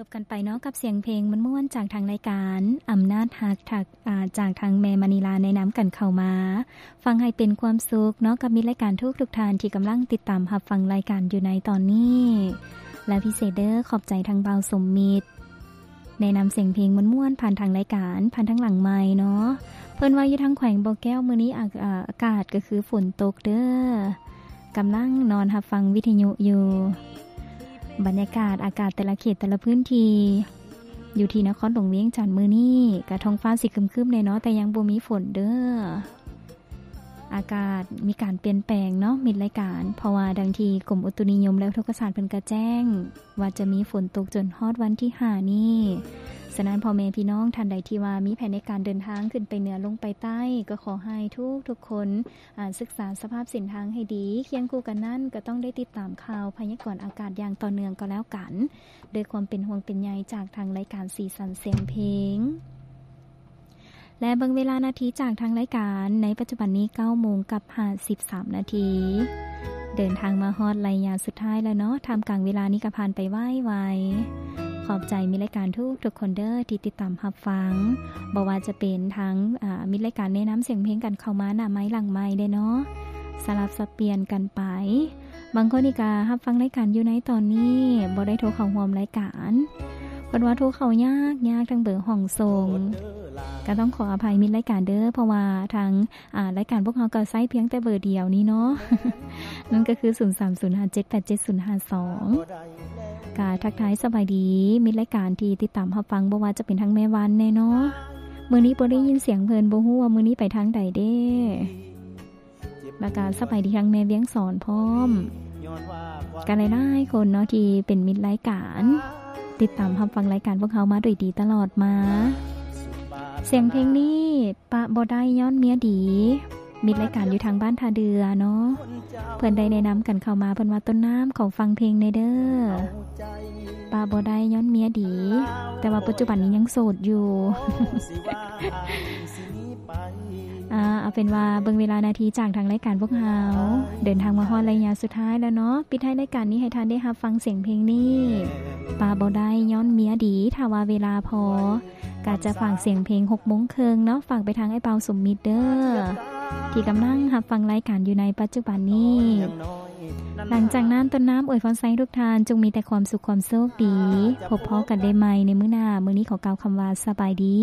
ຈົບກັນໄປເນາະ ກັບສຽງເພງມ່ວນໆ ຈາກທາງລາຍການອຳນາດຮັກ ຈາກ ອາ ຈາກທາງແມ່ມະນີລາແນະນຳກັນເຂົ້າມາ. ຟັງໃຫ້ເປັນຄວາມສຸກເນາະ ກັບມິດລາຍການທຸກໆທ່ານທີ່ກຳລັງຕິດຕາມຮັບຟັງລາຍການຢູ່ໃນຕອນນີ້ ແລະ ພິເສດເດີ້ ຂອບໃຈທາງບ່າວສົມມິດ ແນະນຳສຽງເພງມ່ວນໆ ຜ່ານທາງລາຍການ ຜ່ານທາງຫຼັງໄມເນາະ. ເພິ່ນວ່າຢູ່ທາງແຂວງບໍ່ແກ້ວ ມື້ນີ້ອາ ອາ ອາກາດກໍຄືຝົນຕົກເດີ້ ກຳລັງນອນຮັບຟັງວິທະຍຸຢູ່. ບັນຍາກາດອາກາດແຕ່ລະເຂດແຕ່ລະພື້ນທີ່ ຢູ່ທີ່ນະຄອນຫຼວງວຽງຈັນມື້ນີ້ ກະທ້ອງຟ້າຊິຄຶມໆແດ່ເນາະ ແຕ່ຍັງບໍ່ມີຝົນເດີ້. ອາກາດມີການປ່ຽນແປງເນາະ ມິດລາຍການ ເພາະວ່າດັ່ງທີ່ກົມອຸຕຸນິຍົມ ແລະ ອຸທົກກະສາດເພິ່ນກະແຈ້ງວ່າຈະມີຝົນຕົກຈົນຮອດວັນທີຫ້ານີ້. ສະນັ້ນ ພໍ່ແມ່ພີ່ນ້ອງທ່ານໃດທີ່ວ່າມີແຜນໃນການເດີນທາງຂຶ້ນໄປເໜືອລົງໄປໃຕ້ ກໍຂໍໃຫ້ທຸກໆຄົນ ອາ ສຶກສາສະພາບເສັ້ນທາງໃຫ້ດີ. ຄຽງຄູ່ກັນນັ້ນ ກໍຕ້ອງໄດ້ຕິດຕາມຂ່າວພະຍາກອນອາກາດຢ່າງຕໍ່ເນື່ອງກໍແລ້ວກັນ ດ້ວຍຄວາມເປັນຫ່ວງເປັນໃຍຈາກທາງລາຍການສີສັນສຽງເພງ. ແລະ ເບິ່ງເວລານາທີຈາກທາງລາຍການ ໃນປັດຈຸບັນນີ້ເກົ້າໂມງກັບຫ້າສິບສາມນາທີ ເດີນທາງມາຮອດໄລຍະສຸດທ້າຍແລ້ວເນາະ. ທ່າມກາງເວລານີ້ກໍຜ່ານໄປໄວໆ. ຂອບໃຈມິດລາຍການທຸກໆຄົນເດີ້ ທີ່ຕິດຕາມຮັບຟັງ ບໍ່ວ່າຈະເປັນທາງ ອາ ມິດລາຍການແນະນຳສຽງເພງກັນເຂົ້າມາໜ້າໄມຫຼັງໄມເດ້ເນາະ ສະຫຼັບສັບປ່ຽນກັນໄປ. ບາງຄົນນີ້ກະຮັບຟັງລາຍການຢູ່ໃນຕອນນີ້ ບໍ່ໄດ້ໂທເຂົ້າຮ່ວມລາຍການ ເພິ່ນວ່າໂທເຂົ້າຍາກໆ ທາງເບີຫ້ອງສົ່ງ ກະຕ້ອງຂໍອະໄພມິດລາຍການເດີ້ ເພາະວ່າທາງ ອາ ລາຍການພວກເຮົາກໍໃຊ້ພຽງແຕ່ເບີດຽວນີ້ເນາະ ນັ້ນກໍຄື ສູນສາມສູນຫ້າເຈັດແປດເຈັດສູນຫ້າສອງ. ກະທັກທາຍສະບາຍດີມິດລາຍການທີ່ຕິດຕາມຮັບຟັງ ບໍ່ວ່າຈະເປັນທາງແມ່ວັນແດ່ເນາະ ມື້ນີ້ບໍ່ໄດ້ຍິນສຽງເພິ່ນ ບໍ່ຮູ້ວ່າມື້ນີ້ໄປທາງໃດເດ້. ແລ້ວກະສະບາຍດີທາງແມ່ວຽງສອນພ້ອມ ກະຫຼາຍໆຄົນເນາະ ທີ່ເປັນມິດລາຍການ ຕິດຕາມຮັບຟັງລາຍການພວກເຮົາມາໂດຍດີຕະຫຼອດມາ. ສຽງເພງນີ້ປະບໍ່ໄດ້ຍ້ອນເມຍດີ ມິດລາຍການຢູ່ທາງບ້ານທ່າເດື່ອເນາະ ເພິ່ນໄດ້ແນະນຳກັນເຂົ້າມາ ເພິ່ນວ່າ ຕົ້ນນ້ຳ ຂໍຟັງເພງແດ່ເດີ້ ປະບໍ່ໄດ້ຍ້ອນເມຍດີ ແຕ່ວ່າປັດຈຸບັນນີ້ຍັງໂສດຢູ່. ອາ ເອົາເປັນວ່າເບິ່ງເວລານາທີຈາກທາງລາຍການພວກເຮົາ ເດີນທາງມາຮອດໄລຍະສຸດທ້າຍແລ້ວເນາະ. ປິດທ້າຍລາຍການນີ້ໃຫ້ທ່ານໄດ້ຮັບຟັງສຽງເພງນີ້ ປະບໍ່ໄດ້ຍ້ອນເມຍດີ ຖ້າວ່າເວລາພໍ ກະຈະຝາກສຽງເພງຫົກໂມງເຄິ່ງເນາະ ຝາກໄປທາງອ້າຍບ່າວສົມມິດເດີ້ ທີ່ກຳລັງຮັບຟັງລາຍການຢູ່ໃນປັດຈຸບັນນີ້. ຫຼັງຈາກນັ້ນ ຕົ້ນນ້ຳອວຍພອນໃສ່ທຸກທ່ານ ຈົ່ງມີແຕ່ຄວາມສຸກຄວາມໂຊກດີ ພົບພໍ້ກັນໄດ້ໃໝ່ໃນມື້ໜ້າ. ມື້ນີ້ຂໍກ່າວຄຳວ່າ ສະບາຍດີ.